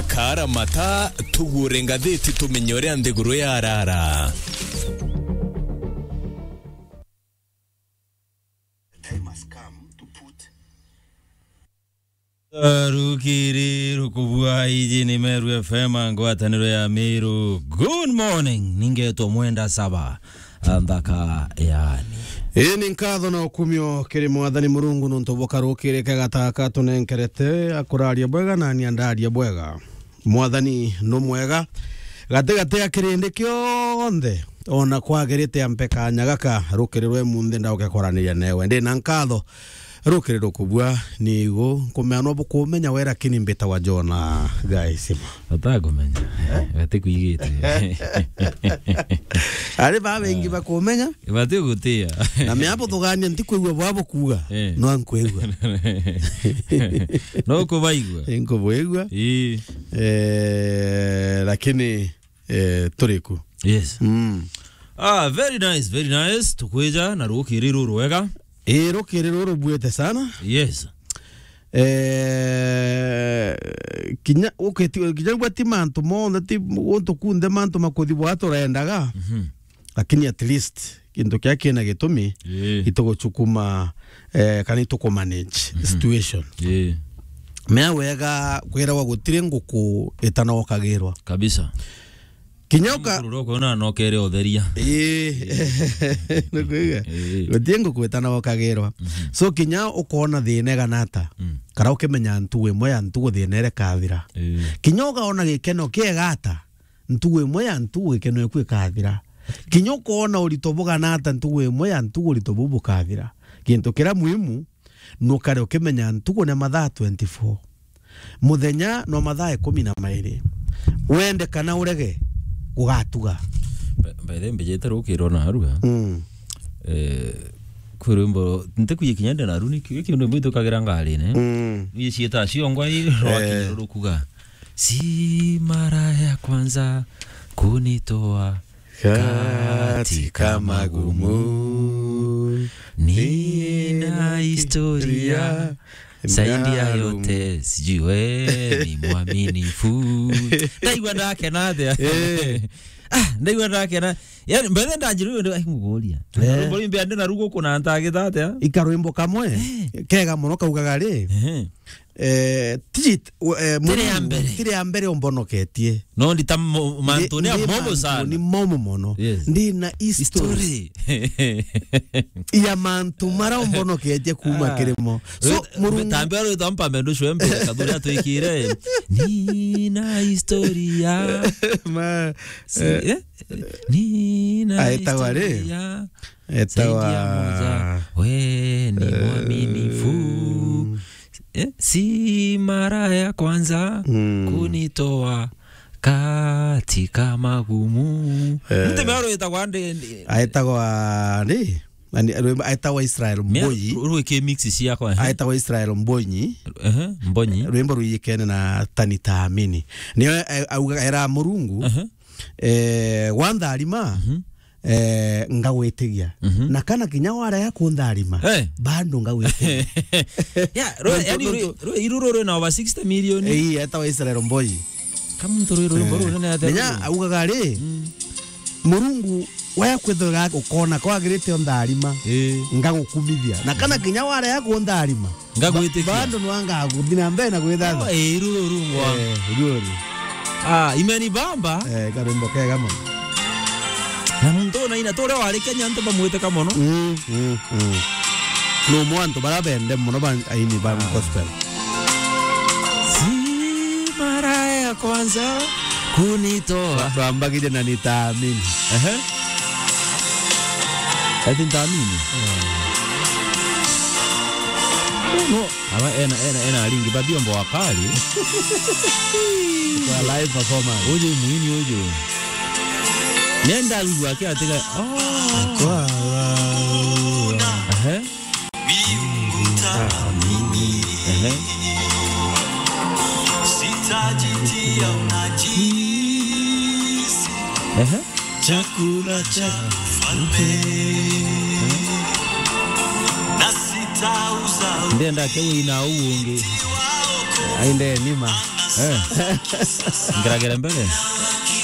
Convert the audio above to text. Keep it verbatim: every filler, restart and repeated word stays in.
Kaara mata, tugure ngathiti tumenye uria nthiguru yarara. The time has come to put Rukiri rukubua, iji ni Meru F M, ngwataniro ya Meru. Good morning, ningetwa Mwenda Saba, nthaka yani. Ii ni nkatho na ukumio kiri Mwathani Murungu nuntu bwa karukiri kega taka tunenkerete, akuraria bwega na ni andaria bwega. Mwathani nu mwega gati gati ya kirindi kionthe, ona kwagirite ampe kanya gaka rukiri rwe munthe ndauke kwaraniria newe. Ndi na nkatho rukiri rukubua ni igu nkumeanwa bukumenya we, lakini mbitagwa Jona Gaisima. Batakumenya. Eh? Batikwigite. Ari ba bengi bakumenya. Batigutia. Na miapo tugania ntikwigua bwa bukuga. Eh. No nkwigua. No kubaigua. Nkubuigua. Ii. Eh, lakini, eh, turiku. Yes. Mm. Ah, very nice, very nice. Tukwija na rukiri ruru rwega. Ii, rukiri ruru buete sana. Yes. Eh, kinya uketi-, kinya ugwe ti mantu monthe, ti guntu kunthe mantu makuthi bwa turendaga. Mhm. Lakini at least gintu kia kina gitumi, ii, ituguchukuma, eh, kana itukumanage situation. Ii. Mea wega kwiragwa gutiri nguku itanokagirwa. Kabisa. Kinya uka- Mukuru roko na nokere utheria. Ii. Nukuiga? Ii. Gutiri nguku itanokagirwa. Mhm. So kinya ukona thina igana ata, mm, kana ukimenya ntugu imwe ya ntugu thina irekathira. Ii. Kinya ukaona gikeno kiega ata, ntugu imwe ya ntugu gikeno eku ikathira. Kinya ukoona urito bugana ata, ntugu imwe ya ntugu urito buu bukathira. Gintu kiria muhimu, nukare ukimenya ntugu ni mathaa twenty-four. Muthenya no mathaa ikumi na mairi. Wende kana urege, gugatuga. By, by the way, mbijite rukirwa na aruga. Mm. Eh, kwi rwimbo, ntikwiji kinya ndi naru, ni ki-, ki rwimbo itukagira ngarine. Mm. Ni ciita ciongwa i rwakinya rukuga. Si mara ya kwanza kunitoa katika magumu. Nina historia zaidi ya yote, sijui we ni mwaminifu. Ndaigua ndakena atia? Eh. Ah, ndaigua ndakena. Yani, mbere ndanjirwo ndio, ai, mugoria. Eh. Rwimbo rwimbe ande na rugo kuna ntagita atia? Ikarwimbo kamwe, eh, kega muno kaugaga ri, ehe. Eh, tiji, eh, tiri ya Murungu, mbere. Tiri ya mbere umbonoketie. No, ndi ta mo-, mantu ni, ni momo sana. Ni momo mono. Yes. Ndi na history. History. Ya mantu mara umbonoketie kuma kirimo. So, we, Murungu, tambe aro tampa mendo shwembe, kathuri atwikire. Nina historia. Ma, si, eh, eh? Nina aetawa ri? Historia. Etawa zaidi ya moja. We ni, eh, mwaminifu. Eh, si mara ya kwanza, mm, kunitoa katika magumu. Eh. Mtu mero etagwa ndi, ndi. Aetagwa ndi? Nani, rwimbo aetagwa Israel Mbonyi. Rwiki mix ciakwa, eh? Aetagwa Israel Mbonyi. Ehe, Mbonyi. Rwimbo rwiyikene na Tani Taamini. Niyo, eh, auga era Murungu, ehe, eh, wantharima, mhm, eh, ngagwitigia. Mhm. Na kana kinya warega kuntharima, eh, bado ngagwitigia. Ya, ro-, nontu, yani, nontu ro-, ro-, iru ruru na over sixty million. Eh, ii, etawa Israel Mbonyi. Kamuntu ruru, eh, ruru nene atia. Menya ruru? Augaga ri, mm, Murungu, waya kwithirwa ukona kwagirite untharima, eh, ngagukumithia. Na kana kinya warega kuntharima, ngagwitikia. Ba-, bado nwanga guthi na mbere na gwithatha. Oh, eh, iru ruru ngwa. Eh, iru ruru. Ah, imenibamba. Eh, karwimbo kega mono. Na muntu una ina turia wari Kenya antu bamwiteka mono. Mm, mm, mm. No mwantu bara bende mono ba aini ba, ah, gospel. Si mara ya kwanza kunitoa. Twambagire na nitaamini. Ehe. Ati ntaamini. No, aba ena, ena, ena aringi, babiombo wakali. Kwa live performance. Uyu mwini uyu. Nenda wigua akiatiga, oh. Kwa, ehe. Ehe. Ehe. Chakula cha ufalme. Ndenda ke wina uu ungi. Ainde nima. Eh. Ngeragere mbere.